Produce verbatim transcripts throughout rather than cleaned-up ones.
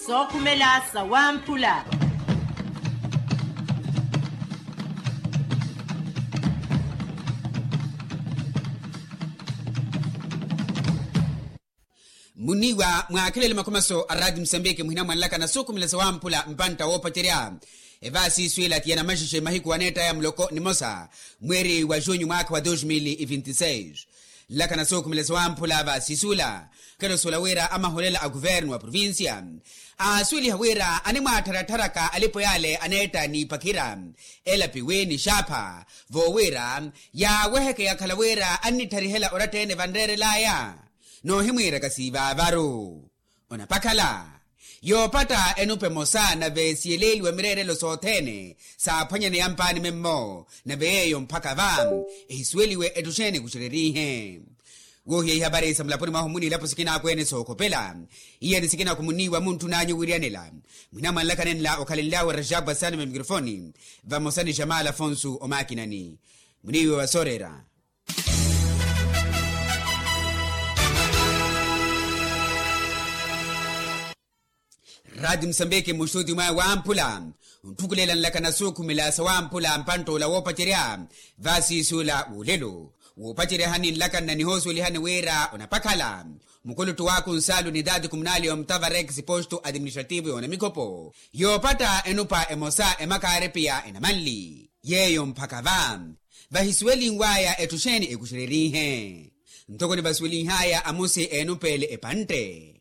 Sookhumela sawamphula. Munniiwa mwaakhelele makhomaso a raati musambiki muhina mwanlaka na sookhumela sawamphula mpantta woopacerya. Evaasi iswila ti yanamaxexe mahiku aneettaya muloko nimosa mweeri wa junyu mwaakha wa dos mil e vinte e seis. Nlaka na sookhumela sawamphula vaasi isula. Khelosola wira amaholela a kuvernu wa provincia aasuweliha wira animwaattharattharaka alipo yaale aneetta n'ipakhira elapiwi ni xaapha voowira yaaweheke yakhala wira annitharihela oratta-ene vanreerel'aya. Noohimwiiraka siivaavaru onapakhala yoopatta enupa emosa nave siyeleeliwa mireerelo sothene saaphwanyaneya mpaani memmo nave yeeyo mphaka va ehisuweliwe etthu xeeni ekuxererihe. Woohiya ihapari sa mulaponi mwahu mmuniilapo sikinaakwene sookhopela iyeni sikinakhu munniiwa muntthun'anyu wiriyanela. Mwina mwanlakhanenla okhalenlyawe rajabwa saani mwa mikrofoni vamosa ni xamala afonsu omaakinani muniiwa wa sooreera. Raati musambiki mmuxuti mwaya wamphula ontthukulela nlaka na sookhumela sawamphula mpantt'ola woopacerya vaasiisuula w'olelo woopaceryahani nlaka nna nihoosuwelihani wira onapakhala mukuluttu wa kunsaalu nitaati kumunali omutavarex postu administrativu yoona mikhopo yoopatta enupa emosa emakaaripiya enamanli yeeyo mphaka va vahisuwelinw'aya etthu xeeni ekuxererihe. Ntoko nivasuwelinh'aya amusi eenupeele epantte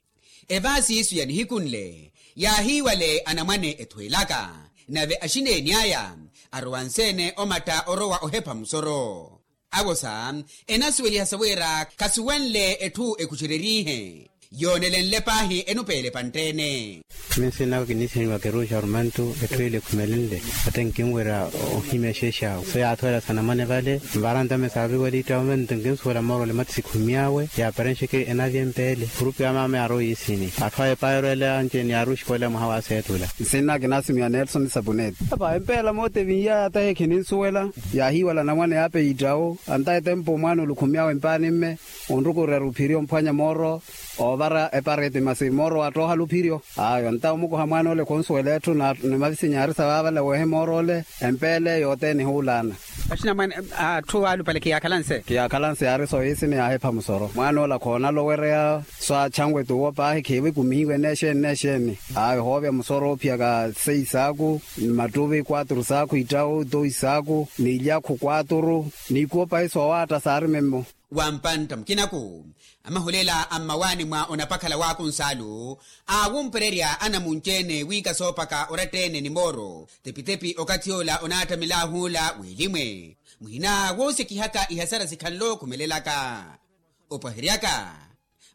evaasi isu ya nihiku nle yaahiiwale anamwane ethweelaka nave axineeni aya arowa nseene omatta orowa ohepha musoro. Awosa enasuweliha sa wira khasuwenle etthu ekuxererihe yoonelenle paahi enupeele pantt'ene. Minsiin'aka kiniisihaniwa keruxa rumantu etthu ile ekhumelenle ate nkinwerya ohimya exeexawe so yaathweela sanamwane vale nvaara ntame saaviwelitta ome nto nkinsuwela moorole mati sikhummy'awe yaaparenxeke enavya empeele kurupi ya maama yaarowa iisini atthu aya epaayerweela anci-ene yaarowa oxikolela mwaha wa seetula. Nsiin'aka kinaasimiwa nelson sapuneti apa empeela moota evinhy'aya atahi ekhininsuwela yaahiiwala anamwane yaapeya ittawo anta etempo omwaana ole okhummy'awe empaani mme onrukurerya ophiriyo omphwanya mooro oovara epareti masi mooro waattoohala ophiriyo. Ayo nta omukoha mwaana ole khunsuwela etthu ni mavisinya yaari sa vaavala weehe mooro ole empeele yothene ehuulaana. Axinamwane atthu alupale khiyaakhalanse khiyaakhalanse yaari sooyiisini yaahepha musoro mwaana ole akhoonala owereya so achanwe t'uwo paahi khiiwikumihiwe neexeeni neexeeni. Ayo hoovya musoro oophiyaka seis saaku ni mattuvi quatru saaku ittawo dois saaku ni ilyakhu quatru ni ikuwo paahi soowaatta saari memmo. Wa mpantta mukinaku amahulela a mmawaani mwa onapakhala wa kunsaalu aawumpererya anamunci-ene wiika soopaka oratta-ene ni mooro tepi-tepi okathi ola onaattamela ahuula w'elimwe muhina woosekihaka ihasara sikhanle okhumelelaka. Opwaheryaka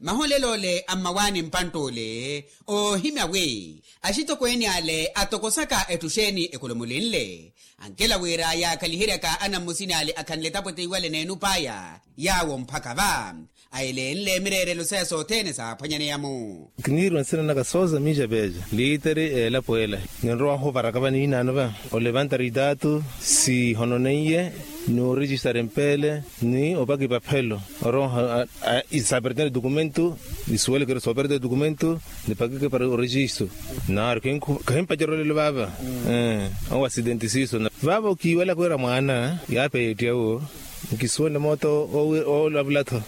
mahulela ole a mmawaani mpantta ole oohimya wi axitokweeni ale atokosaka etthu xeeni ekholomolenle ankela wira yaakhaliheryaka anammusini ale akhanle etapwete iwale n'enup'aya yaawo mphaka va ayelenle mireerelo saya sothene saaphwanyaneya-mu. Kiniiriwa nsina naka sooza miica peeca liiteri elapo ela ninrowa ohuvaraka va niinaano va olevantari itaatu sihononeiye ni orijistari empeele ni opaka ipaphelo oroha isapertene dokumento isuwelekeri soopertene dokumento nipakike para orejistu naaru kahimpacerya olelo vaava. Owa asidenti siiso vaava okiiwelaka wira mwaana yaapeya ettiyawo nkisuwenle moota oolavula-tho.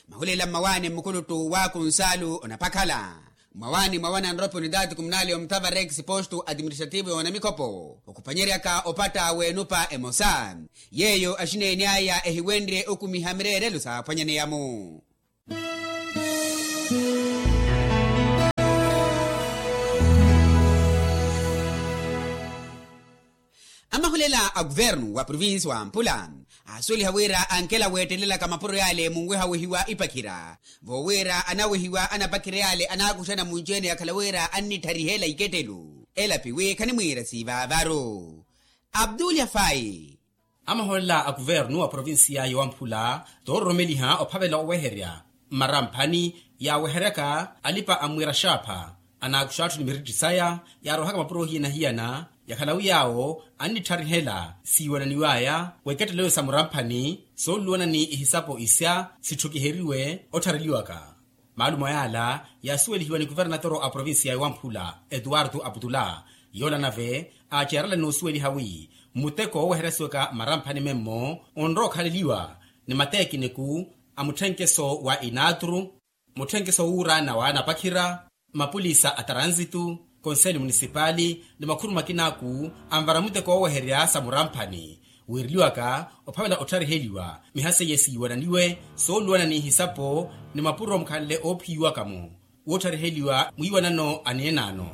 Mahulela mmawaani mmukuluttu wa kunsaalu onapakhala mmawaani mwa wananropi onitaati kumunali omutavarex postu administrativu yoona mikhopo okhupanyeryaka opatta w'enupa emosa yeeyo axineeni aya ehiwenrye okumiha mireerelo saaphwanyaneya-mu. Amahulela a kuvernu wa provinsi wa mpula aasuweliha wira ankela weettelelaka mapuro yaale munweha wehiwa ipakhira voowira anawehiwa anapakhira yaale anaakuxana munci-ene yakhala wira annitthariheela ikettelu elapi wi khanimwiira siivaavaru. Abdul yafayi. Amaholela a kuvernu wa provinsiya yowamphula toororomeliha ophavela oweherya mmaramphani yaaweheryaka alipa a mwira xaapha anaakuxa atthu ni miritti saya yaarohaka mapuro hiyana-hiyana yakhala wi yaawo annitthariheela siiwananiw'aya w'ekettelo sa muramphani sooluluwana ni ihisapo isya sitthukiheriwe otthareliwaka. Maalumo yaala yaasuwelihiwa ni kuvernatoro a provincia ya wamphula, etuwartu aputula. Yoola nave aacerela noosuweliha wi muteko wooweheryasiwaka mmaramphani memmo onrowa okhaleliwa ni mateekiniku a mutthenkeso wa inatru, mutthenkeso wuuraana wa anapakhira, mapulisa a taransitu, konseli munisipali ni makhuru makinaku anvara muteko wooweherya sa muramphani. Wiireliwaka ophavela ottariheliwa miha seiye siiwananiwe sooluwana ni ihisapo ni mapuro mukhanle oophiyiwaka-mo woottariheliwa mwiiwanano aneenaano.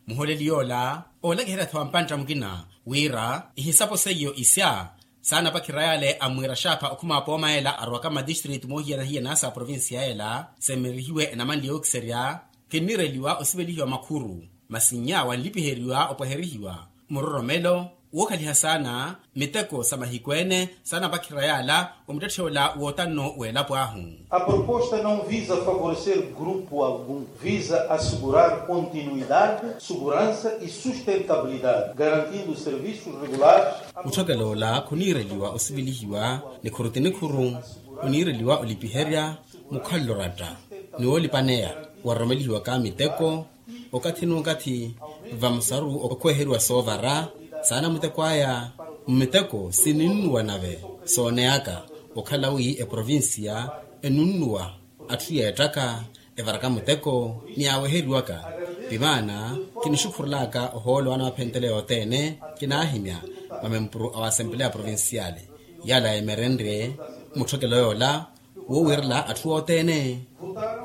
Muholeli yoola oolakiherya-tho ampantta mukina wira ihisapo seiyo isya saanapakhira yale ammwiira xaapha okhuma apooma ela arowaka mmatistritu moohiyana-hiyana sa provincia ela semmerihiwe enamanle yookiserya. Kinniireliwa osivelihiwa makhuru masi nnya wanlipiheriwa opweherihiwa muroromelo wookhaliha saana miteko sa mahiku ene saanapakhira yala omuttetthe ola wootanno w'elapo ahu. A proposta não visa favorecer grupo algum, visa assegurar continuidade, segurança e sustentabilidade, garantindo serviços regulares. Mutthokelo ola khuniireliwa osivelihiwa nikhuru ti nikhuru, oniireliwa olipiherya mukhalelo oratta ni woolipaneya waroromelihiwaka miteko okathi n'ukathi vamusaru okhweheriwa soovara saana muteko aya. Mmiteko sininnuwa nave sooneyaka okhala wi eprovincia enunnuwa atthu yeettaka evaraka muteko ni yaaweheriwaka. Ti maana kinixukhurelaka ohoolo anawaphentele yothene kinaahimya mamempuru a wa asempeleya provinciale yala yeemerenrye mutthokelo yoola woowiirela atthu othene.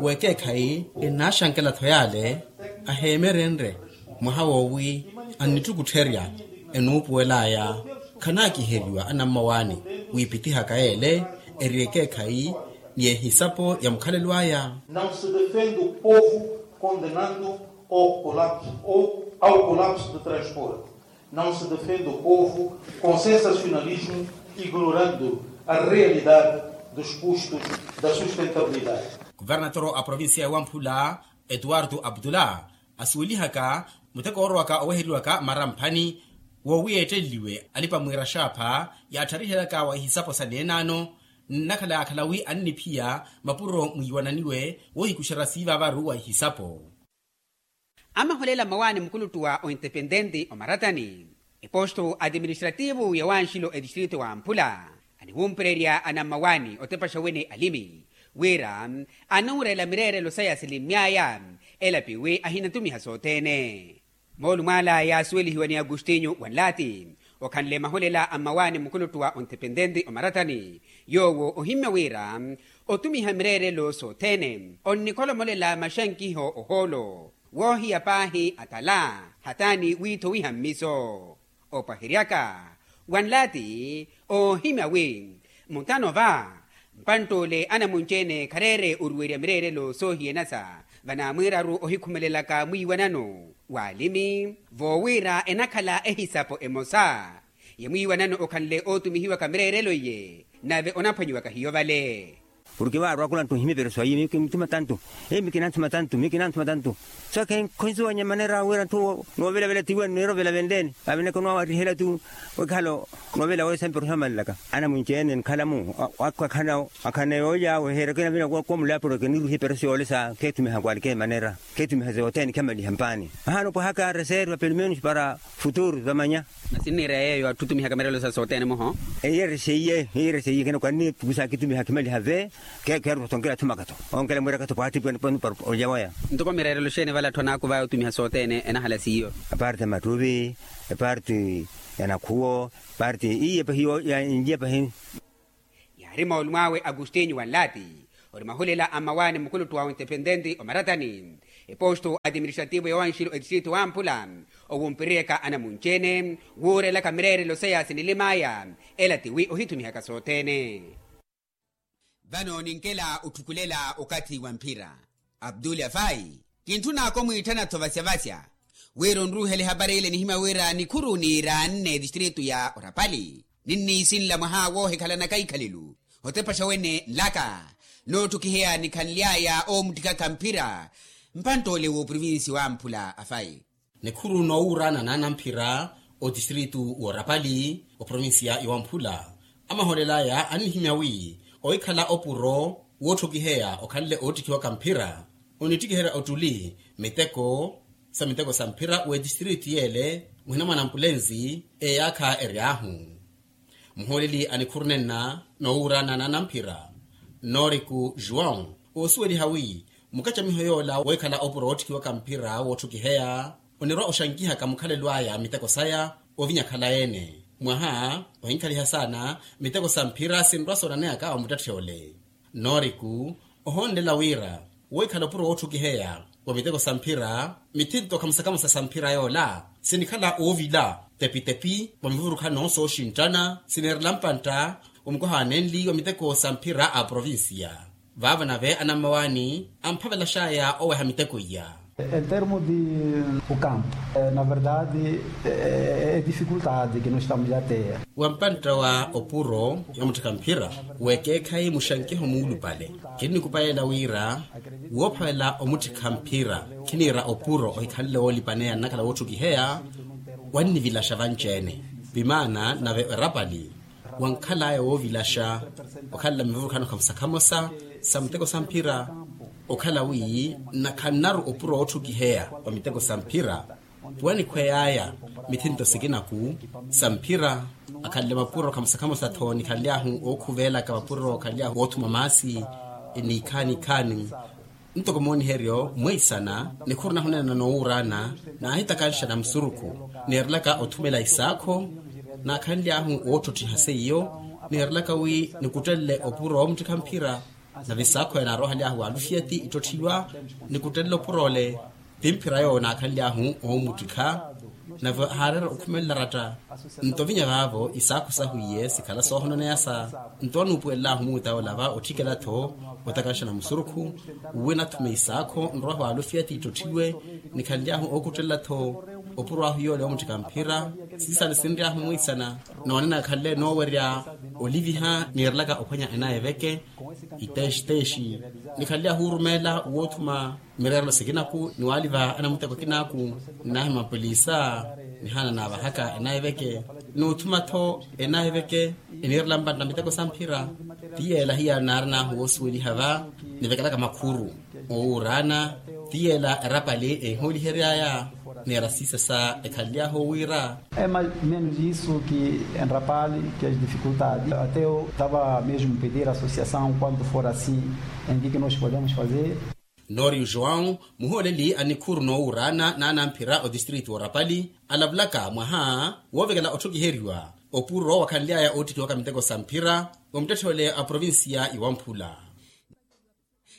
W'ekeekhayi enaaxankela-tho yale aheemerenrye mwaha woowi annittukuttherya enuupuwel'aya khanaakiheriwa anammawaani wiipitihaka ele eri ekeekhayi ni ehisapo ya mukhalelo aya. Não se defende o povo condenando ao colapso ou ao colapso de transporte. Não se defende o povo com sensacionalismo, ignorando a realidade dos custos da sustentabilidade. Kuvernatoro a provincia ya wamphula etuwartu aputula asuwelihaka muteko oorowaka oweheriwaka mmaramphani woowi yeetteleliwe alipa mwiira xaapha yaattarihelaka wa ihisapo sa neenaano. Nnakhala yaakhala wi anniphiya mapuro mwiiwananiwe woohikuxerya siivavaru wa ihisapo. Amaholela mmawaani mukuluttu wa ointepententi omaratani eposto atiministrativu ya wanxilo etistrito wa amphula aniwumpererya anammawaani otepaxa wene alimi wira anuurela mireerelo saya silimmy'aya elapiwi ahinatumiha sothene. Moolumw'ala yaasuwelihiwa ni agustinyu wanlaati okhanle maholela a mmawaani mukuluttu wa ontepententi omaratani yoowo ohimmya wira otumiha mireerelo sothene onnikholomolela maxankiho ohoolo woohiya paahi atala hataani wiithowiha mmiso. Opwaheryaka wanlaati oohimya wi mutano va mpantt'ole anamunci-ene khareere oruwerya mireerelo soohiyanasa vanaamwiiraru ohikhumelelaka mwiiwanano w'alimi voowira enakhala ehisapo emosa ya mwiiwanano okhanle ootumihiwaka mireerelo iye nave onaphwanyiwaka hiyo vale. Porke vaarwa akulanttu ohimya epereso ayi miyo kinituma tantu. Miyo kinanthuma tantu miyo kinanthuma tantu. Saka khonsuwanya manera wira nthu noovelavela tiwani neerovela venleni aveneke onoowarihela tu. Wekhala noovelavela wesa mpereso amalelaka anamunci-ene nkhala-mu akhaneya olya weheerya kina vina kwa mulapuro kiniruhiye epereso yoolesa kheetumiha kwalike manera kheetumiha sothene khamaliha mpaani. Ahaana opwahaka reserva pelo menos para futuru vamanya. Masi nniira yeeyo atthu otumihaka mireerelo sa sothene muho. Eyi eri seiye eyi eri seiye kina kwanni pukusa akitumiha khimaliha ve. Kheerusa onkela athumaka-tho onkela mwiiraka-tho pwaatipwene pwene para olya waya. Ntoko mireerelo xeeni vala atthu anaakuvaya otumiha sothene enahala seiyo. Eparti ya mattuvi eparti ya nakhuwo eparti iye pahi ya inlya pahi. Yaari moolumo awe agustinyu wanlaati ori mahulela a mmawaani mukuluttu wa ontepententi omaratani eposto atiministrativo ya wanxilo etistrito wamphula owumpireryaka anamunci-ene wuurelaka mireerelo saya sinilim'aya ela tiwi ohitumihaka sothene. Vano ninkela otthukulela okathi wa mphira abdul afai kintthunaka omwiitthana-tho vasyavasya wira onruuhele ehapari ile nihimya wira nikhuru niiraanne etistritu ya orapali ninniisinla mwaha woohikhalana kaikhalilu otepaxa wene nlaka nootthukiheya nikhanly'aya oomutthikaka mphira mpantt'ole w'oprovinsi wamphula afai. Nikhuru noowuuraana naana mphira otistritu w'orapali oprovinsiya yowamphula amahoolela aya annihimya wi ohikhala opuro Wootthukiheya okhanle oottikhiwaka mphira, onittikiherya ottuli miteko sa miteko sa mphira w'etistritu yeele muhina mwa nampulensi eyaakha eryaahu. Muhooleli a nikhuru nenna noowuurana n'anamphira, noriku juwão, oosuweliha wi mukacamiho yoola weekhala opuro wootthikiwaka mphira wootthukiheya, onirwa oxankihaka mukhalelo aya miteko saya ovinya khalayi-ene. Mwaha ohinkhaliha saana miteko sa mphira sinrwa soonaneyaka omuttatthi ole. Noriku ohonlela wira wohikhala opuro wootthukiheya wa miteko sa mphira, mithinto khamusakhamusa sa mphira yoola sinikhala oovila tepitepi wa mivurukhano sooxinttana sineerela mpantta wa mukoha wa nenli wa miteko sa mphira a provincia. Vaavo nave anammawaani amphavelaxaya oweha miteko iya. En termo de o campo, na verdade, e dificuldade que nós estamos a ter. Wa mpantta wa opuro ya mutthikha mphira, wekeekhayi muxankiho muulupale. Kinnikupayela wira woophavela omutthikha mphira, khiniira opuro ohikhanle woolipaneya nnakhala wootthukiheya, wannivilaxa vanci-ene. Vimaana nave erapali wankhalaya woovilaxa okhalela mivurukhano khamusakhamusa sa muteko sa mphira, okhala wi nakhannaru opuro wootthukiheya wa miteko sa mphira. Puwanikhwey'aya mithinto sikinaku sa mphira, akhanle mapuro khamusakhamusa-tho nikhanly'ahu ookhuvelaka mapuro khanly'ahu oothuma maasi. Niikhaani-khaani ntoko mooniheryo mweisana nikhuru nahunena noowuurana, naahitakanxa na musurukhu neerelaka othumela isaakho, naakhanly'ahu woottottiha seiyo neerelaka wi nikuttelele opuro woomuttikha mphira. Nave isaakho enaaroohaly'ahu waalufiyati ittotthiwa nikuttelele opuro ole. Ti mphira yoowo naakhanly'ahu oomuttikha, nave haareera okhumelela ratta. Nto vinya vaavo isaakho sahu iye sikhala soohononeyasa. Nto anuupuwelel'ahu muuta yoola va otthikela-tho otakanxa na musurukhu, uwe nathume isaakho nrwahu waalufiyati ittotthiwe. Nikhanly'ahu ookuttelela-tho opuro ahu yoole woomuttikha mphira. Siisale sinry'ahu mwiisana noonena khanle noowerya oliviha niirelaka ophwanya enaya eveke. Iteexiteexi nikhanly'ahu orumeela woothuma mireerelo sikinaku ni waaliva anamuteko akinaaku, nnaahi mapolisa nihaana naavahaka enaya eveke. Noothuma-tho enaya eveke eniirela mpantta miteko sa mphira. Ti yeela hiyaari naarin'ahu woosuweliha va nivekelaka makhuru oowuurana. Ti yeela erapali ehihoolihery'aya neera siisa sa ekhanly'ahu owiira. É mais menos isso que enrapali que as dificuldades até eu tava mesmo pedir a associação quanto for assim em que que nós podemos fazer. Nori joão muhooleli a nikhuru noowuurana n'anamphira otistritu w'orapali alavulaka mwaha woovekela otthokiheriwa opuro wakhanly'aya oottikhiwaka miteko sa mphira wa muttetthole a provincia iwamphula.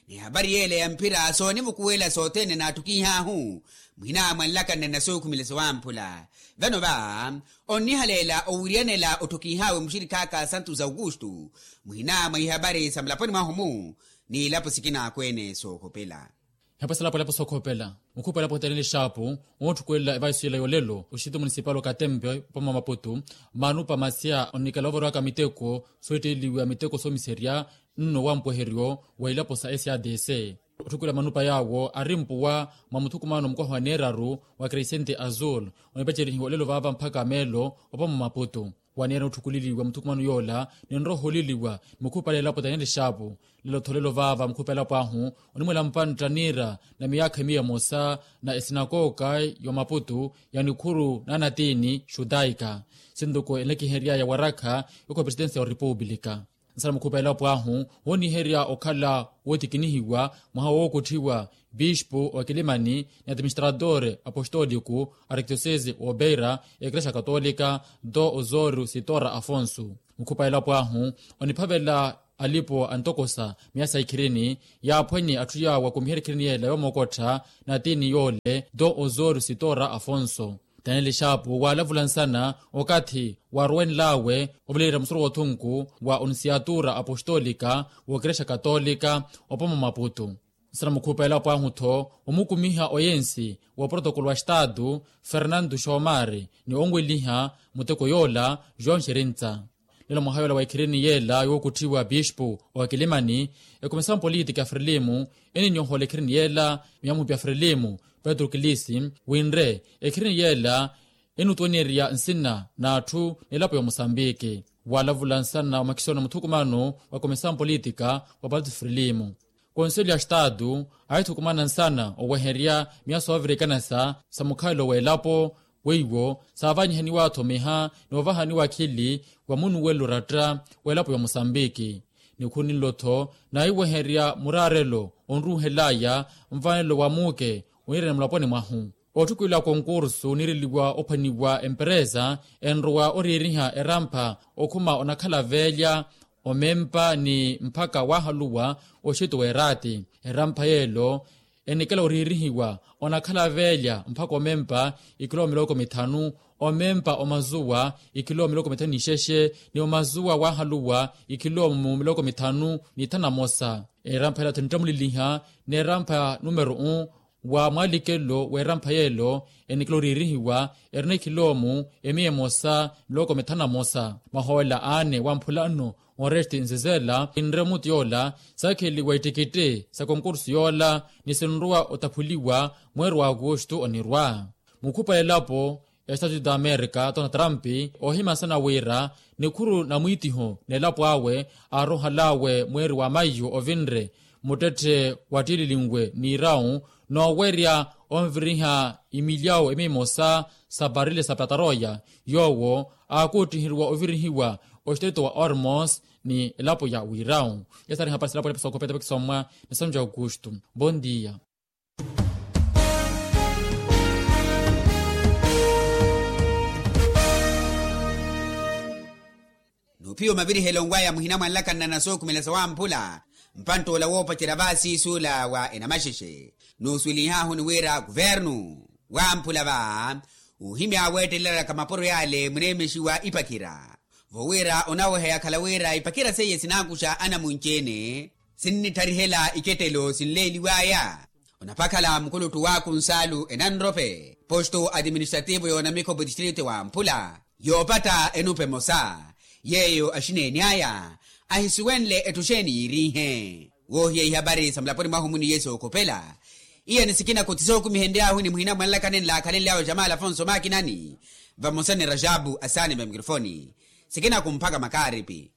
Ni hapari yeela ya mphira soonivukuwela sothene naatthukiih'ahu mwina mwanlakanne na sookhumela siwamphula. Vano va onnihaleela owiriyanela otthukiih'awe muxirikh'aka santos augusto mwina mwa ihapari sa mulaponi mwahu-mu n'ilapo sikinaakweene sookhopela. Ihapari sa lapo ilapo sookhopela mukhupa ilapo oteeleni exaapu. Ootthukulela evaiso ila yolelo oxititu munisipali okatempe opama maputu manu pamasia onnikela ovarowaka miteko sootteliwa miteko soomiserya nno wampweheryo wa ilapo sa sadc. Otthukulela manupa yaawo ari mpuwa mwa muthukumano mukoha wa neeraru wa crescente azul onipacerihiwa olelo vaava mphaka meelo opama maputu. Waneera otthukuleliwa muthukumano yoola ninroholeliwa ni mukhupa ela elapo taneli xaapu lelo-tho lelo vaava mukhupa elapo ahu onimwela mpantta niira na miyaakha miya emosa na esinakoka ya maputu ya nikhuru na anatiini xutaika. Sintuku enlekihery'aya warakha yokho presidence ya orepupulika. Nsana mukhupa elapo ahu wooniherya okhala wootikinihiwa mwaha wookutthiwa bispu wa kilimani ni administrador apostooliku arkidiosese wa obeira ya ekrexa katolika do osorio sitora afonso. Mukhupa elapo ahu oniphavela alipo antokosa miya sa ikhirini yaaphwanye atthu yaawo akumiherya ikhirini yeela yoomokottha na atiini yoole do osorio sitora afonso. Taneli xaapu waalavula nsana okathi waarowenl'awe ovileerya musoro w'othunku wa onisiatura apostoolika w'okerexa katolika opama maputu. Nsana mukhupa elapo ahu-tho omukumiha oyensi wa protokolo wa estatu fernando xomari ni onweliha muteko yoola joão xerintsa. Lelo mwaha yoola wa ikhirini yeela yookutthiwa bispu wa kilimani ekomesao mpolitika frilimu eninnyohola ikhirini yeela miyamupi ya frilimu petro kilisi winre ekhirini yeela enutwenerya nsina n'atthu n'elapo ya omusambiki. Waalavula nsana omakisoni muthukumano wa komisawu politika wa partido frelimo, konseli ya estatu aahithukumana nsana oweherya miya soovirikana sa sa mukhalelo w'elapo weiwo saavanyihaniwa athomiha ni ovahaniwa akhili wa munuwelo oratta w'elapo ya musambiki. Nikhuru ninlo-tho naiweherya muraarelo onruuhel'aya nvanelo wa muuke oniirene mulaponi mwahu. Otthukweliwa konkursu oniireliwa ophwaniwa emperesa enrowa oriiriha erampha okhuma onakhala veelya omempa ni mphaka waahaluwa oxeto w'eraati. Erampha yeelo enikela oriirihiwa onakhala veelya mphaka omempa ikhilo miloko mithanu, omempa omazuwa ikhilo miloko mithanu n'ixexe ni omazuwa waahaluwa ikhilo mu miloko mithanu n'ithanu na mosa. Erampha yeelo thinittamuleliha n'erampha numero u wa mwaalikelo w'erampha yeelo enikela oriirihiwa erina ikhilo mu emiya emosa miloko mithanu na mosa. Mahoola aane wamphulano onresti nzizela kinre mutu yoola saakheliwa ittikitti sa konkursu yoola ni sinrowa otaphuliwa mweeri wa akustu onirwa. Mukhupa elapo ya estatu da amerika tona trampi oohimya nsana wira nikhuru na mwiitiho n'elapo awe aarohal'awe mweeri wa maiyu ovinre muttetthe wattiililinwe n'iirawu noowerya onviriha imilyawu emimosa sa parile sa pataroya yoowo aakuuttiheriwa ovirihiwa oxiteto wa ormos ni elapo ya wirawu. Yasari hapari silapo elapo sookopeta pakisommwa ni sanju ya aukustu. Bondia. Nuuphiwa mavirihelo nwaya muhina mwanlakanana sookhumela sawamphula mpantt'ola woopacerya vaasiisuula wa enamaxexe nuusuwelihaahu ni wira kuvernu wamphula va uhimya weettelelaka mapuro yale muneemexiwa ipakhira vo wira onaweha yakhala wira ipakhira seiye sinankuxa anamunci-ene sinnittarihela ikettelo sinleeliwaya. Onapakhala mukuluttu wa kunsaalu enanrope posto administrativo y'onamikhopo distrito wamphula yoopatta enupe emosa yeeyo axineeny'aya ahisuwenle etthu xeeni yiiriihe. Woohiya ihapari sa mulaponi mwahu muni yesu okhopela iya ni sikinaku ti sookumihenry'ahu ni muhina mwanlakani nlaakhalenly'awe jamal afonso makinani vamosa ni rajabu asaani va mikrofoni sikinaku mphaka makaaripi.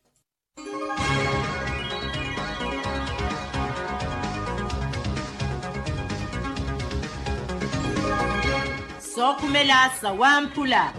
Sookhumela sawamphula.